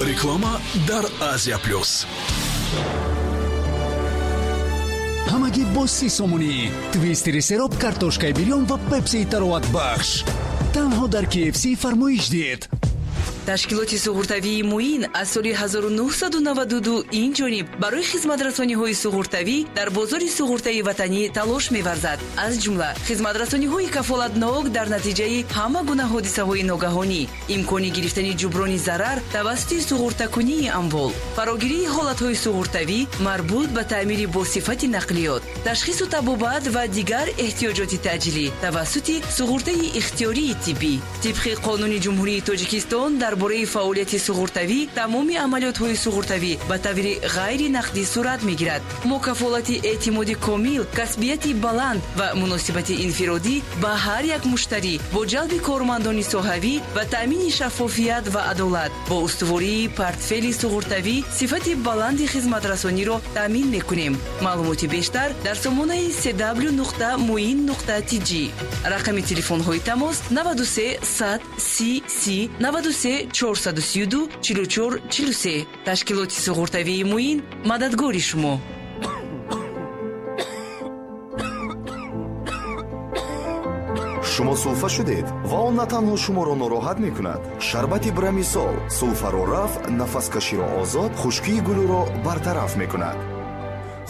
Реклама дар Азия Плюс. Ҳамагӣ бо 30 сомонӣ твистери сероб, картошкаи бирён ва пепсии тароватбахш танҳо дар KFC фармоиш диҳед. Ташкилоти суғуртавии Муин аз соли 1992 ин ҷониб барои хизматрасониҳои суғуртавӣ дар бозори суғуртаи ватанӣ талош меварзад. Аз ҷумла хизматрасониҳои кафолатнок дар натиҷаи ҳама гуна ҳодисаҳои ногаҳонӣ, имкони гирифтани ҷуброни зарар тавассути суғуртакунии амвол, фарогирии ҳолатҳои суғуртавӣ марбут ба таъмири босифати нақлиёт, ташхису табобат ва дигар эҳтиёҷоти таъҷилӣ тавассути суғуртаи ихтиёрии тиббӣ. Тибқи Қонуни Ҷумҳурии Тоҷикистон дар бораи фаъолияти суғуртавӣ, тамоми амалиётҳои суғуртавӣ ба таври ғайри нақдӣ сурат мегирад. Мо кафолати эътимоди комил, касбияти баланд ва муносибати инфиродӣ ба ҳар як муштарӣ бо ҷалби кормандони соҳавӣ ва таъмини шаффофият ва адолат бо устувории портфели суғуртавӣ сифати баланди хизматрасониро таъмин мекунем. Маълумоти бештар дар сомонаи cw.muin.tj. Рақами телефонҳои тамос: 93 100 30 30, 93 432 44 43. Ташкилоти суғуртавии Муин мададгори шумо. Шумо сулфа шудед ва он на танҳо шуморо нороҳат мекунад. Шарбати Брамисол сулфаро рафъ, нафаскаширо озод, хушкии гулӯро бартараф мекунад.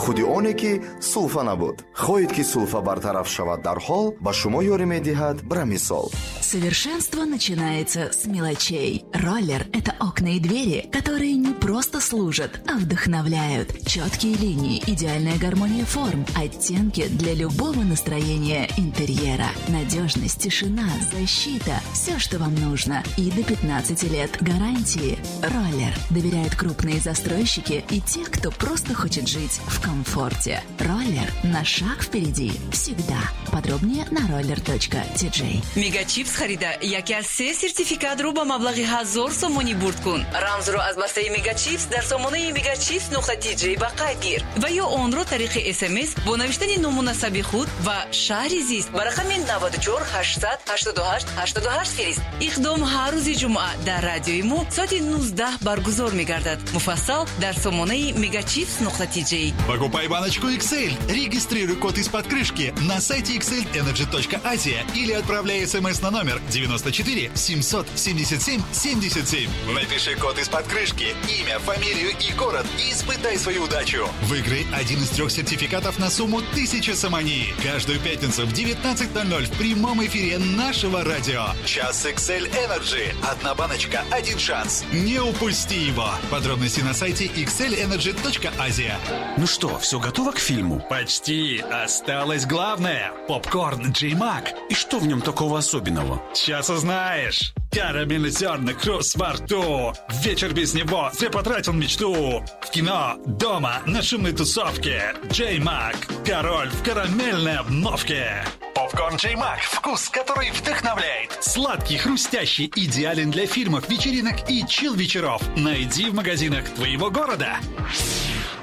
Худи оне ки сулфа набуд. Хоҳед, ки сулфа бартараф шавад дарҳол, ба шумо ёрӣ медиҳад Брамисол. Совершенство начинается с мелочей. Роллер – это окна и двери, которые не просто служат, а вдохновляют. Четкие линии, идеальная гармония форм, оттенки для любого настроения интерьера. Надежность, тишина, защита – все, что вам нужно. И до 15 лет гарантии. Роллер. Доверяют крупные застройщики и те, кто просто хочет жить в комфорте. Роллер на шаг впереди всегда. Подробнее на roller.tj. Мегачипс харида яке аз се сертификатро ба маблағи 1000 сомонӣ бурд кун. Рамзро аз бастаи Мегачипс дар сомонаи megachips.tj ба қайд гир ва ё онро тариқи СМС бо навиштани ному насаби худ ва шаҳри зист ба рақами 94 888 88 фирист. Иқдом ҳар рӯзи ҷумъа дар радиои мо соати 19 баргузор мегардад. Муфассал дар сомонаи megachips.tj. Покупай баночку XL. Регистрируй код из-под крышки на сайте xlenergy.asia или отправляй смс на номер 94 777 77. Напиши код из-под крышки, имя, фамилию и город и испытай свою удачу. Выиграй один из трех сертификатов на сумму 1000 сомони. Каждую пятницу в 19.00 в прямом эфире нашего радио. Час XL Energy. Одна баночка, один шанс. Не упусти его. Подробности на сайте xlenergy.asia. Ну что, все готово к фильму? Почти. Осталось главное. Попкорн Джей Мак. И что в нем такого особенного? Сейчас узнаешь. Карамельный зерна, хруст во рту. Вечер без него, зря потратил мечту. В кино, дома, на шумной тусовке. Джей Мак. Король в карамельной обновке. Попкорн Джей Мак. Вкус, который вдохновляет. Сладкий, хрустящий, идеален для фильмов, вечеринок и чил-вечеров. Найди в магазинах твоего города.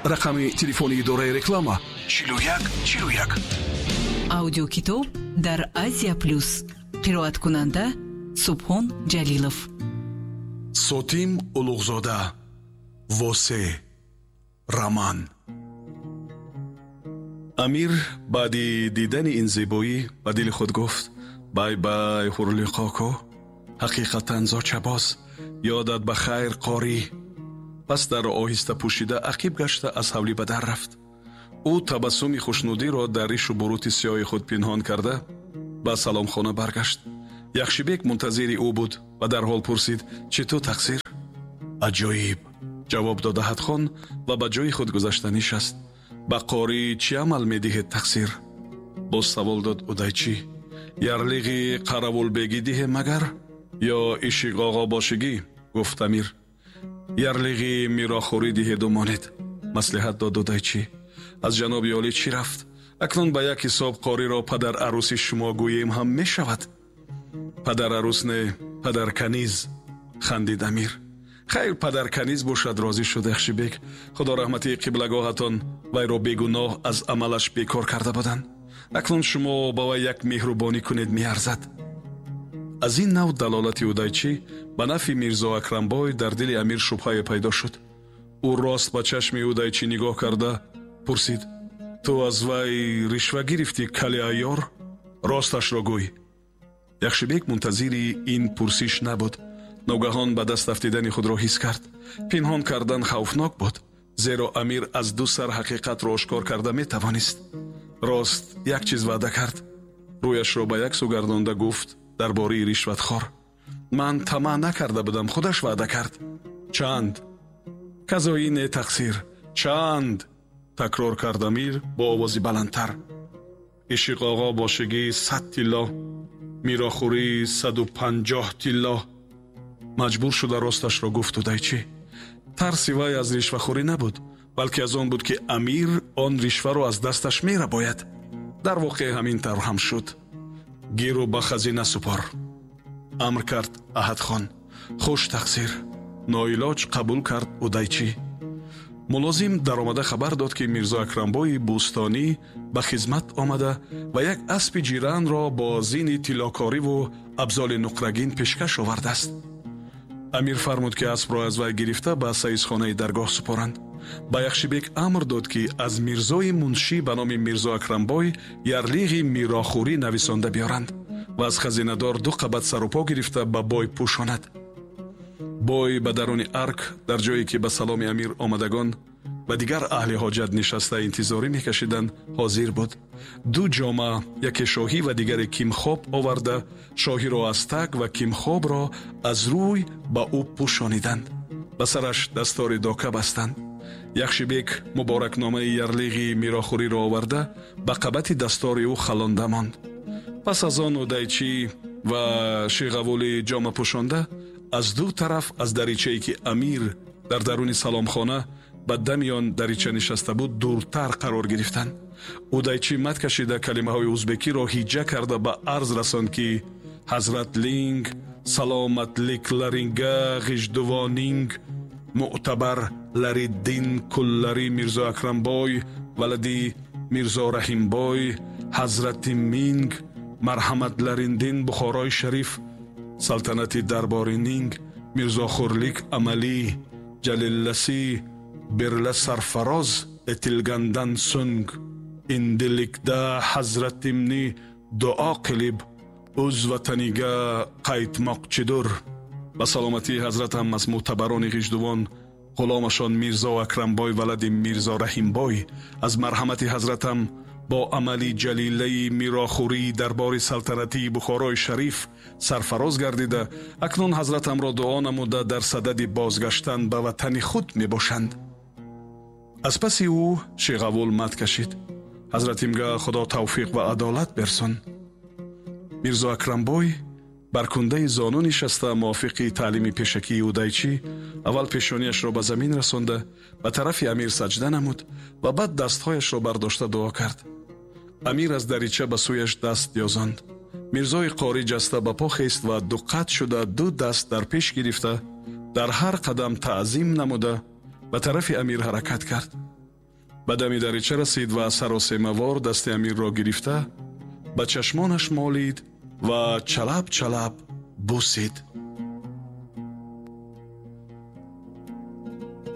Рақами телефони идораи реклама: 41 41. Аудиокитоб дар Азия Плюс. Қироаткунанда Субҳон Ҷалилов. Сотим Улуғзода, «Восе», роман. Амир баъди дидани ин зебоӣ ба дили худ гуфт: «Бай бай, Ҳурлиқоко, ҳақиқатан зочабоз! Ёдат ба хайр, қорӣ!» Пас дарро оҳиста пӯшида, ақиб гашта, аз ҳавлӣ ба дар рафт. Ӯ табассуми хушнудиро дар ришу бурути сиёҳи худ пинҳон карда, ба саломхона баргашт. Яхшибек мунтазири ӯ буд ва дарҳол пурсид: «Чӣ ту, тақсир?» «Аҷоиб», ҷавоб дод Аҳадхон ва ба ҷои худ гузашта нишаст. «Ба қорӣ чӣ амал медиҳед, тақсир?» боз савол дод Удайчӣ. «Ярлиғи қаравулбегӣ диҳем магар ё ишиқоғобошигӣ?» гуфт амир. «Ярлиғи мирохӯрӣ диҳеду монед», маслиҳат дод Удайчӣ. «Аз ҷаноби олӣ чӣ рафт? Акнун ба як ҳисоб қориро падар арӯси шумо гӯем ҳам мешавад». «Падар арӯс не, падар каниз», хандид амир. «Хайр, падар каниз бошад», розӣ шуд Яхшибек. «Худо раҳмати қиблагоҳатон, вайро бегуноҳ аз амалаш бекор карда буданд. Акнун шумо ба вай як меҳрубонӣ кунед, меарзад». Аз ин нав далолати Удайчӣ ба нафъи Мирзо Акрамбой дар дили амир шубҳае пайдо шуд. Ӯ рост ба чашми Удайчӣ нигоҳ карда пурсид: «Ту аз вай ришва гирифтӣ, кали айёр? Росташро гӯй». Яхшибек мунтазири ин пурсиш набуд. Ногаҳон ба даст афтидани худро ҳис кард. Пинҳон кардан хавфнок буд, зеро амир аз ду сар ҳақиқатро ошкор карда метавонист. Рост як чиз ваъда кард. Рӯяшро ба як сӯ гардонда гуфт дар бораи ришватхор: «Ман тамаъ накарда будам, худаш ваъда кард». «Чанд?» «Казои не тақсир. Чанд?» такрор кард амир бо овози баландтар. «Ишиқоғо бошигӣ 100 тилло, мирохӯрӣ 150 тилло». Маҷбур шуда росташро гуфт Удайчӣ. Тарси вай аз ришвахӯрӣ набуд, балки аз он буд, ки амир он ришваро аз дасташ мерабояд. Дар воқеъ ҳамин тавр ҳам шуд. «Гиру ба хазина супор», амр кард Аҳадхон. «Хуш тақсир», ноилоҷ қабул кард Удайчӣ. Мулозим даромада хабар дод, ки Мирзо Акрамбои Бӯстонӣ ба хизмат омада ва як аспи ҷиранро бо зини тиллокориву абзоли нуқрагин пешкаш овардааст. Амир фармуд, ки аспро аз вай гирифта ба саисхонаи даргоҳ супоранд. Ба Яхшибек амр дод, ки аз мирзои муншӣ ба номи Мирзо Акрамбой ярлиғи мирохӯрӣ нависонда биёранд ва аз хазинадор ду қабат сарупо гирифта ба бой пӯшонад. Бой ба даруни арк, дар ҷое ки ба саломи амир омадагон ва дигар аҳли ҳоҷат нишаста интизорӣ мекашиданд, ҳозир буд. Ду ҷома, яке шоҳӣ ва дигаре кимхоб оварда, шоҳиро аз таг ва кимхобро аз рӯй ба ӯ пӯшониданд. Ба сараш дастори дока бастанд. Яхшибек муборакномаи ярлиғи мирохӯриро оварда ба қабати дастори ӯ халонда монд. Пас аз он Удайчӣ ва Шиғавули ҷома пӯшонда аз ду тараф аз даричае, ки амир дар даруни саломхона ба дами он дарича нишаста буд, дуртар қарор гирифтанд. Удайчӣ мат кашида калимаҳои узбекиро ҳиҷа карда ба арз расонд, ки ҳазратлинг саломатликларинга ғиждувонинг муътабар лариддин куллари Мирзо Акрамбой валади Мирзо Раҳимбой ҳазрати минг марҳаматлариндин Бухорои Шариф салтанати дарборининг Мирзохӯрлик амалӣ ҷалилласӣ бирла сарфароз этилгандан сунг индиликда ҳазратимни дуо қилиб уз ватанига қайтмоқчидур. Ба саломатии ҳазратам аз мӯътабарони ғиждувон ғуломашон Мирзо Акрамбой валади Мирзо Раҳимбой аз марҳамати ҳазратам бо амали ҷалилаи мирохӯрии дарбори салтанатии Бухорои Шариф сарфароз гардида, акнун ҳазратамро дуо намуда дар садади бозгаштан ба ватани худ мебошанд. Аз паси ӯ Шиғавул мат кашид: «Ҳазратимга Худо тавфиқ ва адолат берсон». Мирзо Акрамбой бар кундаи зону нишаста мувофиқи таълими пешакии Удайчӣ аввал пешониашро ба замин расонда ба тарафи амир саҷда намуд ва баъд дастҳояшро бардошта дуо кард. Амир аз дарича ба сӯяш даст ёзонд. Мирзои қорӣ ҷаста ба по хест ва дуқат шуда ду даст дар пеш гирифта дар ҳар қадам таъзим намуда ба тарафи амир ҳаракат кард. Ба дами дарича расид ва саросемавор дасти амирро гирифта ба чашмонаш молид ва чалаб чалаб бусид.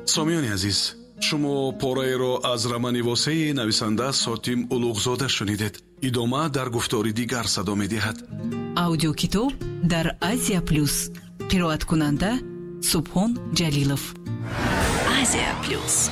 Сомиёни азиз, шумо пораеро аз романи Восеи нависанда Сотим Улуғзода шунидед. Идома дар гуфтори дигар садо медиҳад. Аудиокитоб дар Азия Плюс. Қироаткунанда Субҳон Ҷалилов. Азия Плюс.